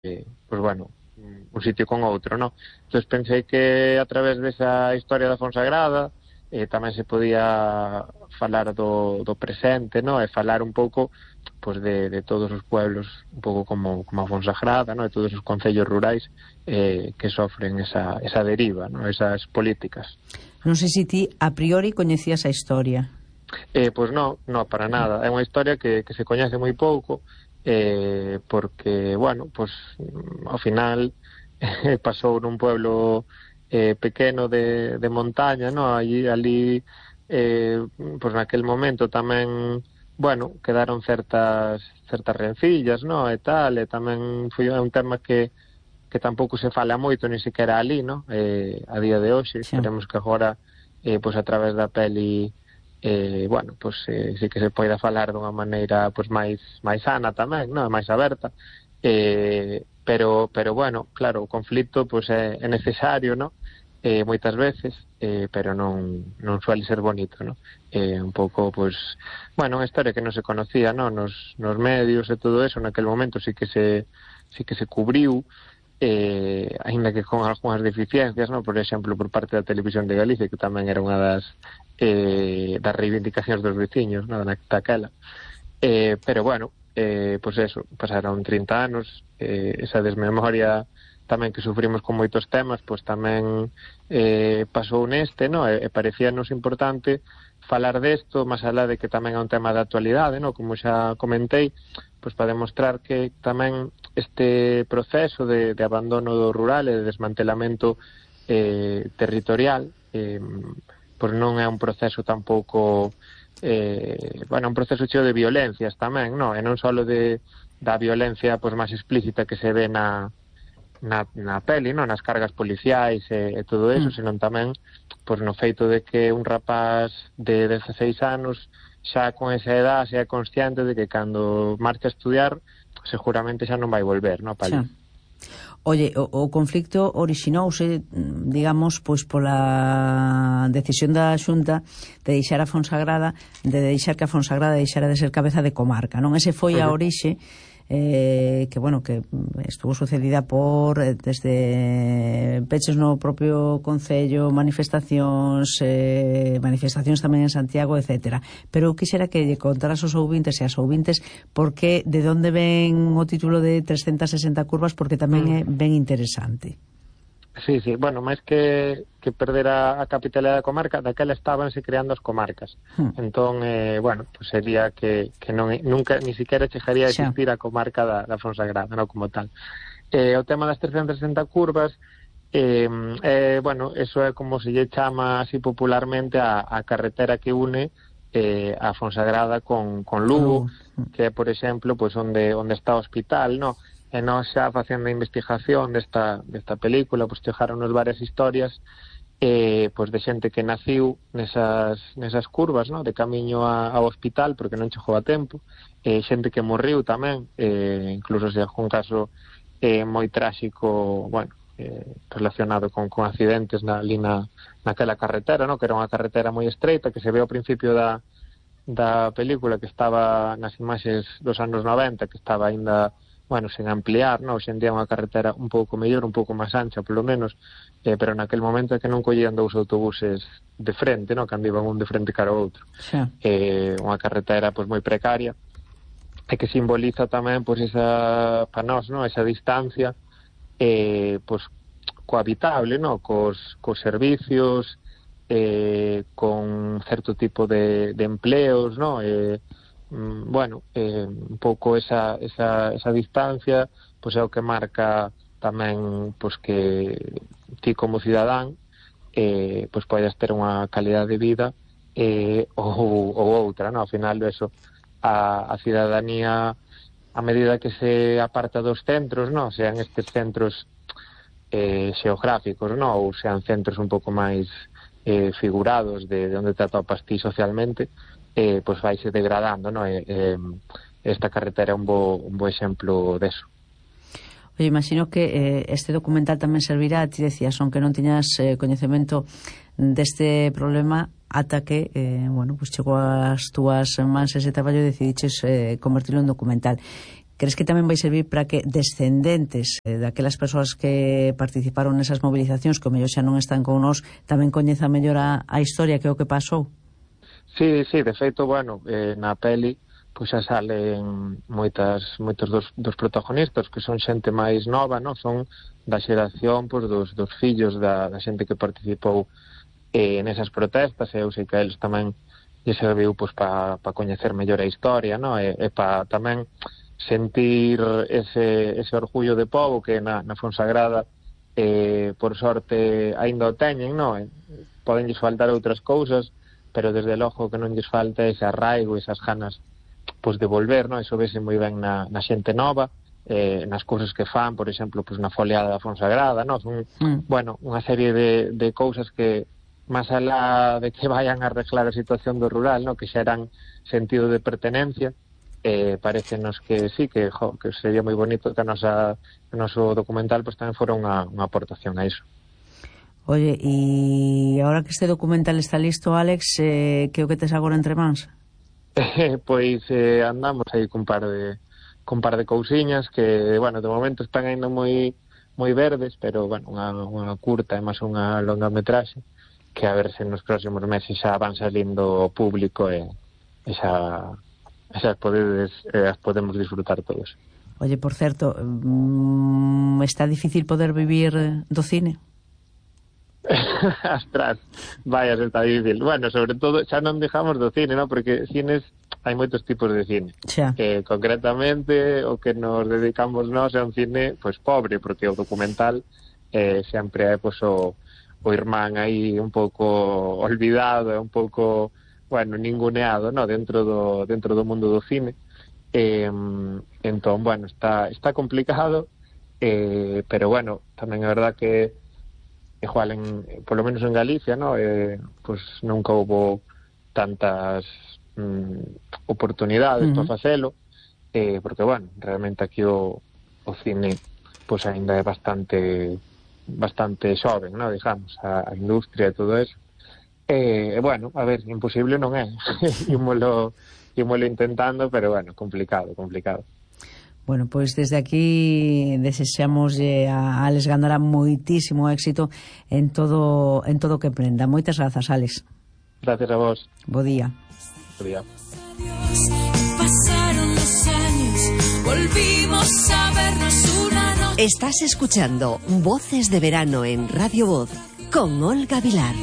pues bueno, un sitio con outro, non? Entón pensei que a través desa historia da Fonsagrada tamén se podía falar do presente, non? E falar un pouco pues de todos os pueblos, un pouco como a Fonsagrada, non? De todos os concellos rurais que sofren esa deriva, non? Esas políticas. Non sei se ti a priori coñecías a historia. Pois non, para nada. É unha historia que se coñece moi pouco, porque, bueno, pues ao final pasou nun pueblo pequeno de montaña, no? Ali pues naquel momento tamén, bueno, quedaron certas rencillas, no? E tal, e tamén foi un tema que tampouco se fala moito, ni sequera ali, no? A día de hoxe, esperemos que agora pues a través da peli bueno, pues sí que se poida falar dunha maneira pues máis sana tamén, non? Máis aberta, pero bueno, claro, o conflito pues é necesario, non? Moitas veces, pero non suele ser bonito, non? Un pouco, pues, bueno, unha historia que non se conocía, non? Nos medios e todo eso, naquel momento sí que se cubriu, aínda que con algunhas deficiencias, non? Por exemplo, por parte da Televisión de Galicia, que tamén era unha das reivindicacións dos veciños, non? Daquela, pero bueno, pues eso, pasaron 30 anos, esa desmemoria tamén que sufrimos con moitos temas, pues tamén pasou neste, non? E parecíanos importante falar desto, máis alá de que tamén é un tema de actualidade, non? Como xa comentei, pues para demostrar que tamén este proceso de abandono do rural e de desmantelamento territorial pues non é un proceso tampouco bueno, un proceso cheo de violencias tamén, non? E non só da violencia pues máis explícita que se ve na peli, non? Nas cargas policiais e todo eso, senón tamén pues no feito de que un rapaz de 16 anos xa con esa edad xa é consciente de que cando marcha a estudiar seguramente xa non vai volver, non? Xa. Oye, o conflicto orixinouse, digamos, pois pola decisión da Xunta de deixar a Fonsagrada, de deixar que a Fonsagrada deixara de ser cabeza de comarca, non? Ese foi a orixe que, bueno, que estuvo sucedida por desde peches no propio concello, manifestacións tamén en Santiago, etcétera. Pero quixera que lle contaras aos ouvintes e as ouvintes porque de onde ven o título de 360 curvas, porque tamén é ben interesante. Sí, bueno, máis que perder a capitalidade da comarca, daquela estábanse creando as comarcas. Entón, bueno, pues sería que nunca, ni siquiera chegaría a existir a comarca da Fonsagrada, non como tal. O tema das 360 curvas, bueno, eso é como se lle chama así popularmente a carretera que une a Fonsagrada con Lugo, que é, por exemplo, pues onde está o hospital, non? E nós xa facendo a investigación desta película, pues chegaronos varias historias pues de xente que naciu nesas curvas, no? De camiño ao hospital porque non chegou a tempo, xente que morriu tamén, incluso se algún caso moi tráxico, bueno, relacionado con accidentes ali naquela carretera, no? Que era unha carretera moi estreita que se ve ao principio da película, que estaba nas imaxes dos anos 90, que estaba aínda, bueno, sen ampliar, non? Hoxe en día unha carretera un pouco mellor, un pouco máis ancha, polo menos, pero naquel momento é que non collían dous autobuses de frente, non? Cando iban un de frente cara ao outro. Unha carretera pois moi precaria, e que simboliza tamén pois esa, para nós, non? Esa distancia pois cohabitable, non? Cos servicios, con certo tipo de empleos, non? Bueno, un pouco esa distancia pois é o que marca tamén pois que ti como cidadán pois podes ter unha calidad de vida ou outra, non? Ao final eso, a cidadanía, a medida que se aparta dos centros, non? Sean estes centros xeográficos, non? Ou sean centros un pouco máis figurados de onde te atopas ti socialmente, pois vaise degradando, non? Esta carretera é un bo exemplo deso. Oye, imagino que este documental tamén servirá, ti decías, aunque non tiñas coñecemento deste problema, ata que, bueno, pues chegou ás túas mans ese traballo e decidiches convertirlo en documental. crees que tamén vai servir para que descendentes daquelas persoas que participaron nesas movilizacións, que o mellor xa non están con nós, tamén coñeza mellor a historia que é o que pasou? Sí, de feito, bueno, na peli pois xa salen moitos dos protagonistas que son xente máis nova, non? Son da xeración pois, dos fillos da xente que participou nesas protestas, e eu sei que eles tamén lle serviu pois, para coñecer mellor a historia, non? E para tamén sentir ese orgullo de pobo que na Fonsagrada por sorte aínda o teñen, non? Podenlles faltar outras cousas, pero desde logo que non lles falta ese arraigo, esas ganas pois, de volver, non? Iso vese moi ben na xente nova, nas cousas que fan, por exemplo, pois, na foliada da Fonsagrada, non? Son, bueno, unha serie de cousas que máis alá de que vayan a arreglar a situación do rural, non? Que xa eran sentido de pertenencia, parecenos que sí, que sería moi bonito que o noso documental pues, tamén fora unha aportación a iso. Oye, e agora que este documental está listo, Alex, que o que tes agora entre mans? Pois andamos aí cun par de cousiñas que, bueno, de momento están ainda moi verdes, pero, bueno, unha curta e máis unha longa metraxe que a ver se nos próximos meses xa van salindo ao público e xa as podemos disfrutar todos. Oye, por certo, está difícil poder vivir do cine? Astras, vaya, está difícil. Bueno, sobre todo, xa non dejamos do cine, ¿no? Porque cines, hai moitos tipos de cine. Concretamente, o que nos dedicamos nós é un cine, pois, pobre, porque o documental sempre é, pois, o irmán aí un pouco olvidado, un pouco, bueno, ninguneado, ¿no? dentro do mundo do cine. Entón, bueno, está complicado, pero, bueno, tamén é verdad que igual, polo menos en Galicia, ¿no? Pues nunca houbo tantas oportunidades para facelo, porque, bueno, realmente aquí o cine pues ainda é bastante xoven, ¿no? Digamos, a industria e todo eso. Bueno, a ver, imposible non é. Ímolo intentando, pero, bueno, complicado. Bueno, pois desde aquí desexamos a Alex Gándara moitísimo éxito en todo o que emprenda. Moitas grazas, Alex. Gracias a vos. Bo día. Bo día. Pasaron los años, volvimos a vernos una noche. Estás escuchando Voces de Verano en Radio Voz con Olga Vilar.